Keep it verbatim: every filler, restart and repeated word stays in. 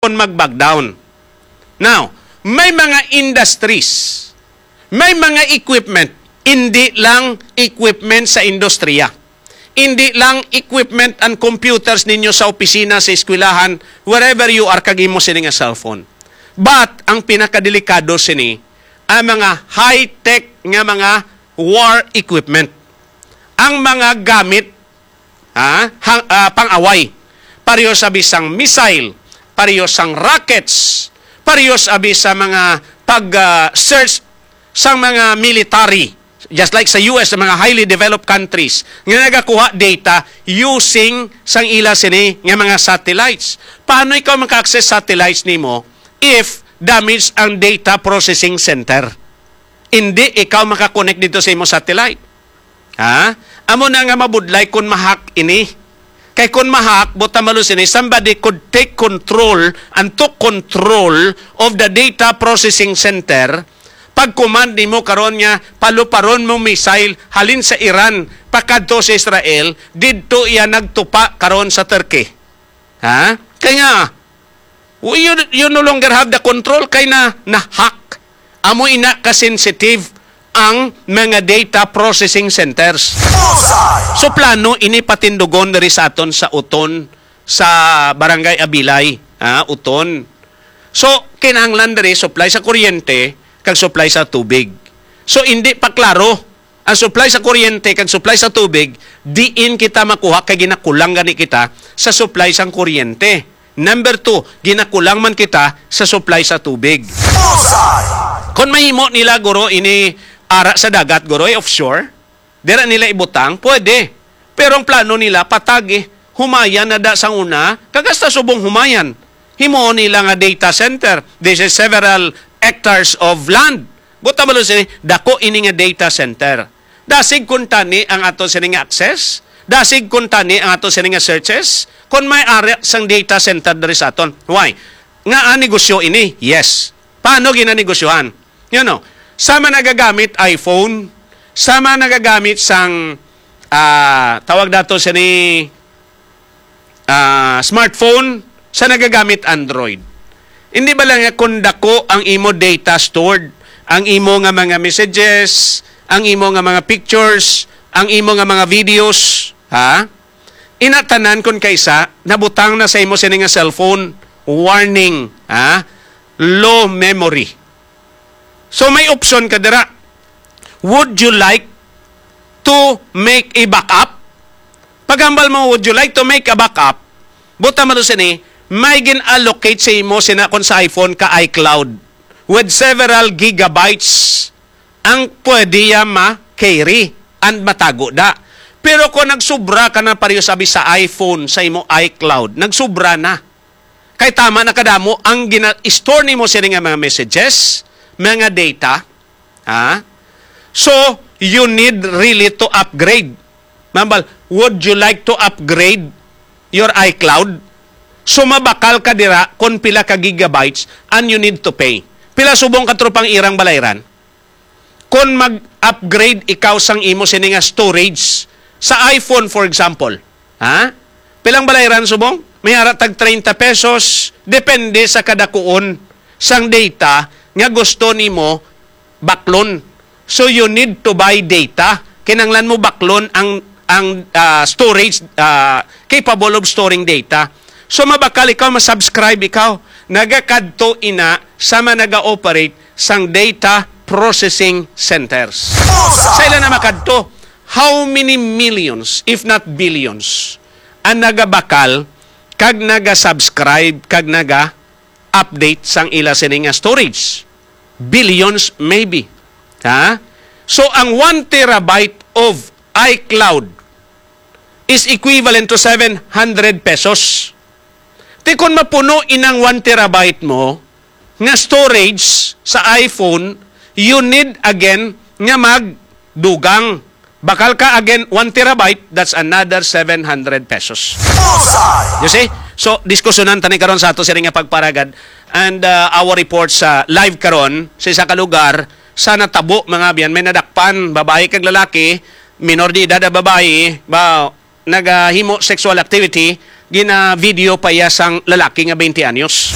kon mag-back down. Now, may mga industries, may mga equipment, hindi lang equipment sa industriya. Hindi lang equipment and computers ninyo sa opisina, sa eskwelahan, wherever you are, kag imo sini nga cellphone. But, ang pinakadelikado sini, ang mga high-tech nga mga war equipment. Ang mga gamit, ha, hang-, ah, pang-away. Pareho sa bisang missile, pareho sang rockets, pareho sa abi sa mga pag, ah, search sang mga military, just like sa U S, sa mga highly developed countries, nga nagakuha data using sang ila sini nga mga satellites. Paano ikaw maka-access satellites nimo if damage ang data processing center? Hindi ikaw maka-connect dito sa imo satellite. Ha? Amo na nga mabudlay kung ma-hack ini. Kay kung ma-hack, buta malos ini, somebody could take control and took control of the data processing center. Pag-command nimo karon nga paluparon mo missile halin sa Iran pakadto sa Israel, didto iya nagtupa karon sa Turkey. Ha? Kay nga, you, you no longer have the control kay na na-hack. Amo ina ka sensitive ang mga data processing centers. Bullseye! So plano ini patindugon diri sa aton sa Uton, sa Barangay Abilay, ha, Uton. So kinahanglan diri supply sa kuryente kag supply sa tubig. So hindi pa klaro ang supply sa kuryente kag supply sa tubig, diin kita makuha kay ginakulang gani kita sa supply sang kuryente. Number two, ginakulang man kita sa supply sa tubig. Bullseye! Kon mahimo nila, guro, ini ara sa dagat, guro, eh, offshore, dira nila ibutang, pwede. Pero ang plano nila, patag, eh, humayan na da sang una, kag hasta subong humayan. Himuon nila nga data center. This is several hectares of land. Buta ba sini, dako ini nga data center. Dasig kuntani ang ato sini nga access. Dasig kuntani ang ato sini nga searches. Kung may ari sang data center diri sa aton. Why? Nga ang negosyo ini? Yes. Paano ginanegosyohan? You know, sama nagagamit iPhone, sama nagagamit sang, ah, tawag dato sini, ah, smartphone, sa nagagamit Android. Hindi ba lang nga kung dako ang imo data stored, ang imo nga mga messages, ang imo nga mga pictures, ang imo nga mga videos, ha? Ina tanan kun kaisa, nabutang na sa imo sini nga cellphone, warning, ha? Low memory. So may option ka dira. Would you like to make a backup? Paghambal mo, would you like to make a backup? Buta man to sini, may gin-allocate sa imo sina kon sa iPhone ka iCloud with several gigabytes ang pwede ya ma-carry and matago da. Pero kung nagsubra ka na pareho sabi sa iPhone, sa imo iCloud, nagsubra na. Kay tama na kadamo ang gina-store nimo sini nga mga messages, mga data. Ha? So, you need really to upgrade. Mambal, would you like to upgrade your iCloud? So, mabakal ka dira kung pila ka gigabytes and you need to pay. Pila subong ka tropang irang balayran? Kon mag-upgrade ikaw sang imo sini nga storage sa iPhone, for example, ha? Pilang balayran subong? May ara tag treinta pesos, depende sa kadakuon sang data nga gusto nimo baklon. So you need to buy data. Kinahanglan mo baklon ang ang, ah, storage, ah, capable of storing data. So mabakal ikaw, ma-subscribe ikaw, nagakadto ina sa mga naga-operate sang data processing centers. Sa ila na makadto, how many millions, if not billions, ang nagabakal kag naga-subscribe kag naga-update sang ila sini nga storage? Billions maybe. Ha? So ang one terabyte of iCloud is equivalent to seven hundred pesos. Ti kon mapuno inang one terabyte mo nga storage sa iPhone, you need again nga magdugang. Bakal ka again one terabyte, that's another seven hundred pesos. Bullseye! You see? So, diskusyonan tani karon sa ato sini nga pagparagad and, uh, our report sa live karon sa isa ka lugar sa natabo, mga abyan, may nadakpan, babayi kag lalaki, minor de edad ang babayi, ba, nagahimo sexual activity gina-video pa iya sang lalaki nga twenty anyos.